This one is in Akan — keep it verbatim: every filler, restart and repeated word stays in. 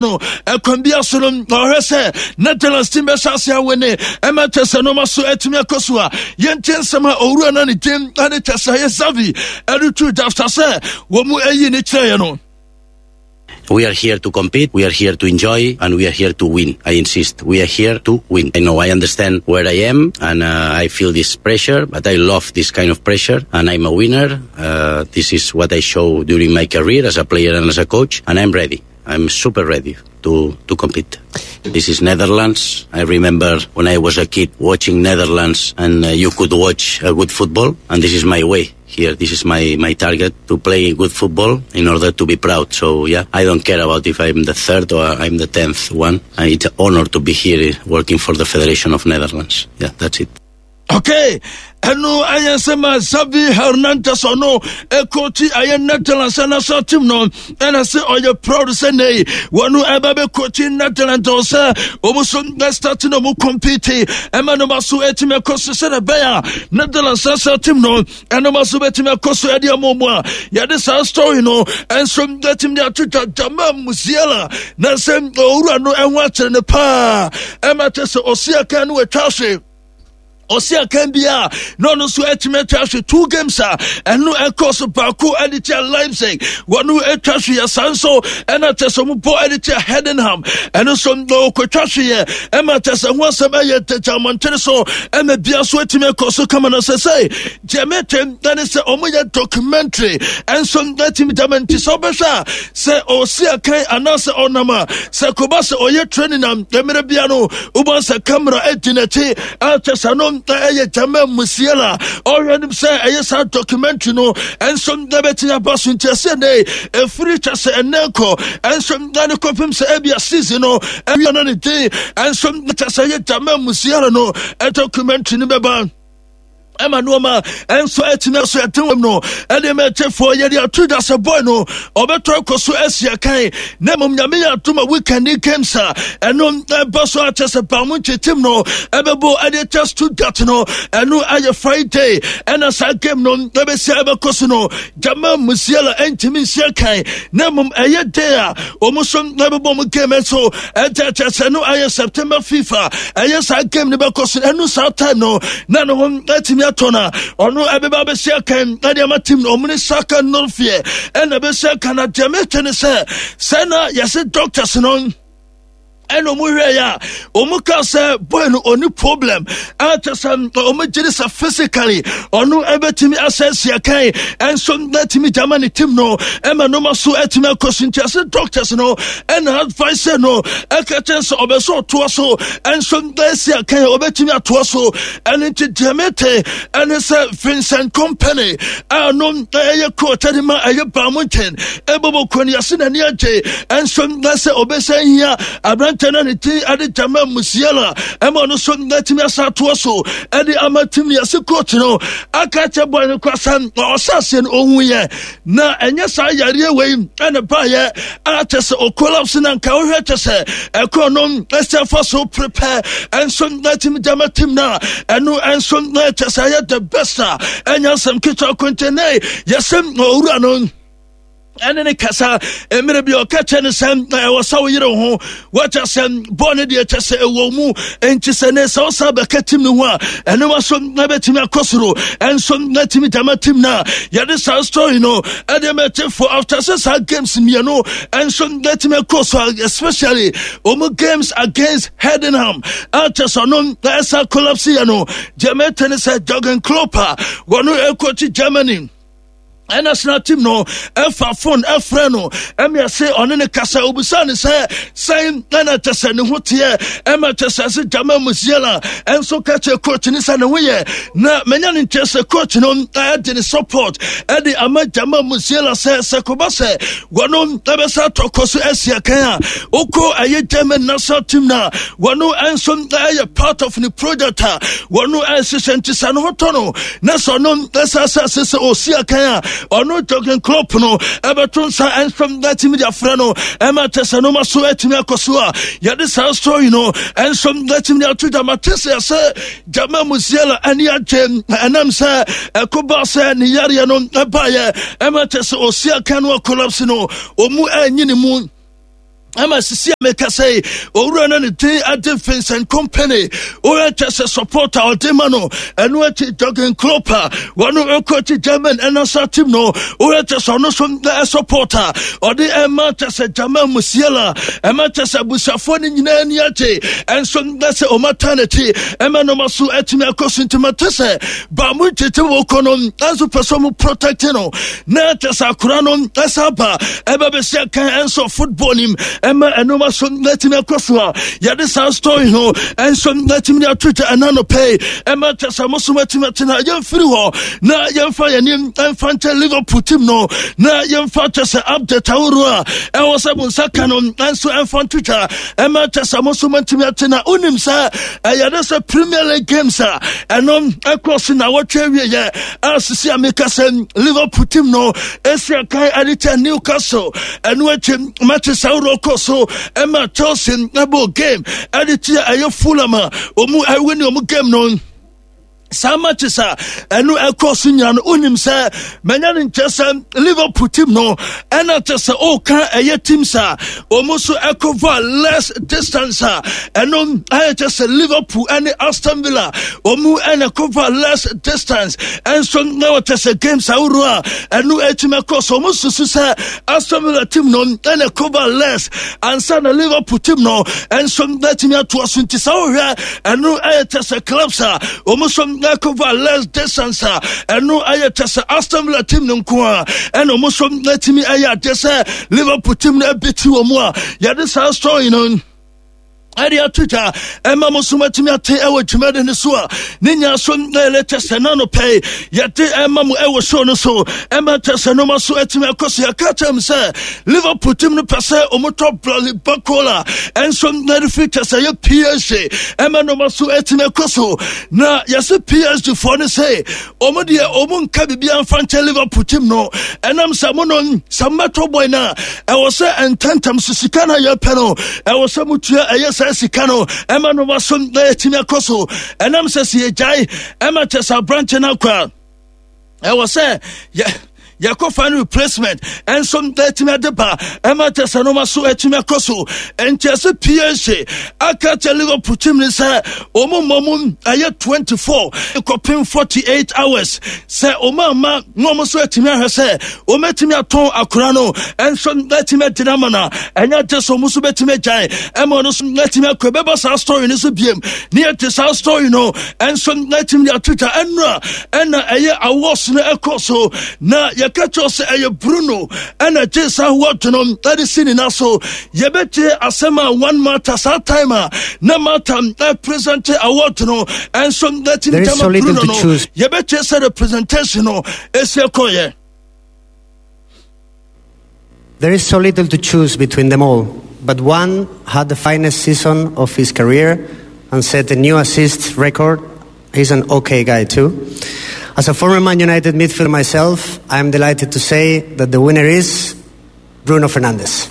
No ɛkwan bi aso no, ɔhwɛ sɛ Netherlands team bɛhyɛ ase awene ɛma kyɛ sɛ nɔɔma so atumi akɔ so a, yɛntie nsɛm a owura no ne din ɛne kyɛ sɛ ɛyɛ Xavi ɛde tu dwa sɛ wɔn mu ayi ne kyerɛeɛ no. We are here to compete, we are here to enjoy, and we are here to win. I insist, we are here to win. I know, I understand where I am, and uh, I feel this pressure, but I love this kind of pressure, and I'm a winner. Uh, this is what I show during my career as a player and as a coach, and I'm ready. I'm super ready to, to compete. This is Netherlands. I remember when I was a kid watching Netherlands and uh, you could watch a good football, and this is my way here. This is my, my target, to play good football in order to be proud. So yeah, I don't care about if I'm the third or I'm the tenth one. Uh, it's an honor to be here working for the Federation of Netherlands. Yeah, that's it. Okay, ɛno ayɛ nsɛm a Xavi Hernandez, ɔno ɛkɔkyi ayɛ Netherlands national team no, ɛna sɛ ɔyɛ proud sɛ nei wɔno ɛbɛ bɛkɔkyi Netherlands ɔ sɛ ɔmu so start na ɔmu compete ɛma no ma so ɛtumi ɛkɔ so sɛne ɛbɛyɛ a Netherlands national team no ɛno ma so bɛtumi ɛkɔ so ɛde ama mu a yɛde saa story no ɛnso ɛtumi de ato dwa. Jamal Musiala na sɛ owura no ɛho akyerɛ no paa ɛma kyɛ sɛ ɔsi aka no watwa ahwe ɔsi akan bi a na ɔno nso atumi atwa ahwe two games a ɛno ɛkɔ so, baako ɛde tia Leipzig, wɔno atwa hwe yɛ saa nso, ɛna kyɛ sɛ ɔmo bɔ ɛde tia Heidenheim, ɛno nso ɔkɔtwa hwe yɛ ɛma kyɛ sɛ ho asɛm ɛyɛ tɛkyɛ amɔntene so ɛma bia so atumi akɔ so kama no. Sɛ sɛ deɛ mɛtɛm ɛne sɛ ɔmo yɛ documentary ɛnso atumi dama, nti sɛ ɔbɛhwɛ a, sɛ ɔsi akan anaasɛ ɔnam a, sɛ koba sɛ ɔyɛ training na mmerɛ bia no wobɔ sɛ camera adi n'akyi akyɛ sɛ no ɛyɛ Jamal Musiala ɔhwɛ nim sɛ ɛyɛ saa documentary no ɛnso ɛbɛtumi aba so. Nti ɛsɛ ne ɛfiri kyɛ sɛ ɛnɛ kɔ ɛnso ɛne kɔpem sɛ ɛbia season no ɛwia no ne din ɛnso kyɛ sɛ ɛyɛ Jamal Musiala no documentary no bɛba ɛma nneɛma ɛnso atumi aso ɛten wɔm no ɛde mɛkyɛfoɔ yɛde ato dwa sɛ boy no ɔbɛtɔ akɔ so asi akan, na mmom Nyame yɛ atom a, weekend games a ɛno ɛba so akyɛ sɛ Bayern team no ɛbɛbɔ ɛde kyɛ Stuttgart no, ɛno ayɛ Friday, ɛna saa game no ɛbɛsi ɛbɛkɔ so no, Jamal Musiala ɛntumi nsi akan, na mmom ɛyɛ day a wɔn nso ɛbɛbɔ mu game nso ɛkyɛ kyɛ sɛ no ayɛ September fifth, ɛyɛ saa game no bɛkɔ so. Ɛno saa time no na ne ho ɛtumi atɔ no a ɔno ɛbɛba bɛsi akan ɛde ama team no, ɔmo ne Schalke null vier ɛna bɛsi akan. Na deɛ mɛtɛ ne sɛ sɛ na yɛsɛ doctors no ɛna ɔmo hwɛ yɛ a, ɔmo ka sɛ boy no ɔni problem a kyɛ sɛ ɔmo gyere sɛ physically ɔno ɛbɛtumi asɛsi akan ɛnso ɛtumi gyama ne team no ɛma nneɛma so ɛtumi akɔ so. Nti ɛsɛ doctors no ɛna advice no ɛka kyɛn sɛ ɔbɛ sɛ ɔtoa so ɛnso ɛsi akan a ɔbɛtumi atoa so. Ɛno nti deɛ mete ɛne sɛ Vincent Kompany a no ɛyɛ coach ɛde ma ɛyɛ Bayern Munchen ɛbɔbɔ kɔn yɛse n'ani agye ɛnso ɛsɛ ɔbɛsɛ hia aberantɛ no ne din ɛde Jamal Musiala ɛma ɔno so atumi asa atoa so ɛde ama team no. Yɛse coach no aka kyɛ boy no kwasa ɔhyɛ aseɛ no ɔhu yɛ na ɛnyɛ saa yareɛ wei ɛna baayɛ a kyɛ sɛ ɔcollapse na nka wohwɛ kyɛ sɛ ɛkɔ no ɛsɛ fa so prepare ɛnso atumi gyama team no a ɛno ɛnso kyɛ sɛ ɛyɛ the best a ɛnyɛ nsɛm ketewa kontene. Yɛsɛ owura no ɛne ne kasa mmerɛ bi ɔka kyɛ no sɛ ɛwɔ sɛ wo yere ho wɔkyɛ sɛ bɔɔ no deɛ kyɛ sɛ ɛwɔ mu, enti sɛ ne sɛ wosa bɛka team no ho a, ɛno wa so na bɛtumi akɔ soro ɛnso na tumi gyama team no a yɛde saa story no ɛde mɛkyɛfoɔ after sɛ saa games mmienu ɛnso na tumi akɔ so, especially ɔmu games against Heidenheim a kyɛ sɛ ɔno ɛsa collapse yɛ no. Deɛ mɛtɛ ne sɛ Jurgen Klopp a wɔno ɛkɔkyi Germany national team no ɛfa phone ɛfrɛ no ɛmi ɛsɛ ɔne ne kasa, obisa ne sɛ sɛn ɛna kyɛ sɛ ne ho teɛ, ɛma kyɛ sɛ ɛsɛ Jamal Musiala ɛnso ka kyerɛ coach ne sɛ ne ho yɛ, na menya ne nkyɛn sɛ coach no ɛde ne support ɛde ama Jamal Musiala sɛ sɛ koba sɛ wɔno ɛbɛsɛ atɔkɔ so ɛsi akan a okɔ ɛyɛ German national team na wɔno ɛnso ɛyɛ part of ne project a wɔno ɛhyehyɛ, nti sɛ ne ho tɔ no na sɛ ɔno ɛsɛ sɛ sɛ ɔsi akan a, ɔno Jurgen Klopp no ɛbɛto nsa ɛnso ɛtumi de afrɛ no ɛma kyɛ sɛ noma so ɛtumi akɔ so a yɛde saa story no ɛnso ɛtumi de ato dwa. Mate sɛ sɛ Jamal Musiala ani agye ɛnam sɛ ɛko ba sɛ ne yareɛ no ɛbaeɛ ɛma kyɛ sɛ ɔsi akan no acollapse no, ɔmu ɛnyi ne mu. Ɛma sisi a meka sɛ owura no ne din ade Vincent Kompany, woyɛ kyɛ sɛ support a ɔde ma no. Ɛno akyi, Jurgen Klopp a wɔno ɛkɔkyi German ɛna sa team no, woyɛ kyɛ sɛ ɔno so support a ɔde ɛma kyɛ sɛ Jamal Musiala, ɛma kyɛ sɛ abusuafoɔ no nyinaa ani agye ɛnso na sɛ ɔmata n'akyi ɛma nɔma so atumi akɔ so. Nti mate sɛ baamu nkyekye wɔ kɔ no ɛnso pɛ sɛ ɔmo protect no na kyɛ sɛ akora no ɛsa ba ɛbɛ bɛsi akan ɛnso football nim, ɛma ɛnoma so natumi akɔ so a yɛde saa story no ɛnso natumi de ato gya ɛna no pɛi, ɛma kyɛ sɛ mo so matumi atena. Yɛmfiri hɔ na yɛmfa yɛnim ɛmfa nkyɛ Liverpool team no na yɛmfa kyɛ sɛ update ahoroɔ a ɛwɔ sɛ mo nsa ka no ɛnso ɛmfa nto gya, ɛma kyɛ sɛ mo so matumi atena. Wonim sɛ ɛyɛ de sɛ Premier League games a ɛno ɛkɔ so na wɔtwe awieyɛ a, sisi a meka sɛ Liverpool team no ɛsi akan ɛde kyɛ Newcastle. Ɛno akyi, matches ahoroɔ kɔ so, ɛma Chelsea ɛbɔ game ɛde tia ɛyɛ Fulham a ɔmu ɛwɛ ne ɔmu game no. Saa matches a ɛno ɛkɔ so nyina no, wonim sɛ manya no nkyɛ sɛ Liverpool team no ɛna kyɛ sɛ ɔka ɛyɛ teams a ɔmo so ɛcover less distance a, ɛno ayɛ kyɛ sɛ Liverpool ɛne Aston Villa ɔmo ɛna cover less distance. Ɛnso na wɔkyɛ sɛ games ahoroɔ a ɛno atumi ɛkɔ so, ɔmo susu sɛ Aston Villa team no ɛna cover less ansa na Liverpool team no ɛnso atumi atoa so. Nti sɛ wohwɛ, ɛno ɛyɛ kyɛ sɛ clubs a ɔmo so cover less distance a, ɛno ɛyɛ kyɛ sɛ Aston Villa team no nko a ɛna ɔmo so atumi ɛyɛ adeɛ sɛ Liverpool team no ɛbɛti wɔ mu a yɛde saa story no ɛde ato dwa ɛma mo so matumi ate ɛwɔ dwumadi no so a ne nya so ɛlɛ kyɛ sɛ na no pɛi yɛde ɛma mo ɛwɔ show no so, ɛma kyɛ sɛ noma so atumi akɔ so. Yɛka kyerɛ m sɛ Liverpool team no pɛ sɛ ɔmotɔ Bradley Barcola ɛnso na de firi kyɛ sɛ yɛ P S G, ɛma noma so atumi akɔ so. Na yɛsɛ P S G foɔ no sɛ ɔmo deɛ ɔmo nka biribiara mfa nkyɛn Liverpool team no, ɛnam sɛ mo no sɛ mmɛtɔ boy no a, ɛwɔ sɛ ntɛntɛm so sika no a yɛpɛ no, ɛwɔ sɛ motua ɛyɛ saa sika no, ɛma noma so na yɛtumi akɔ so. Ɛnam sɛ sɛ yɛgyae ɛma kyɛ sɛ aberante no akɔ a, ɛwɔ sɛ yɛ yɛkɔfa no replacement ɛnso atumi ade ba, ɛma kyɛ sɛ noma so atumi akɔ so. Ɛnti ɛsɛ P S G aka kyɛ Liverpool team ne sɛ ɔmo mmɔ mu ɛyɛ twenty-four kɔpem forty-eight hours, sɛ ɔmo ama na ɔmo nso atumi ahwɛ sɛ ɔmo atumi atɔn akora no ɛnso atumi agyina ama no, ɛnyɛ gye sɛ ɔmo nso bɛtumi agyae ɛma ɔno nso atumi akɔ. Ɛbɛba saa story no so biem ne yɛte saa story no ɛnso atumi de ato twa. Ɛno a ɛna ɛyɛ awards no ɛkɔ so na yɛka kyerɛw sɛ ɛyɛ Bruno ɛna gye saa award no ɛde si ne na so. Yɛbɛgye asɛm a Juan Mata saa time a na Mata present award no ɛnso atumi gyama Bruno no, yɛbɛgye sɛ the presentation no ɛsi ɛkɔyɛ. There is so little to choose between them all, but one had the finest season of his career and set a new assist record. He's an okay guy too. As a former Man United midfielder myself, I am delighted to say that the winner is Bruno Fernandes.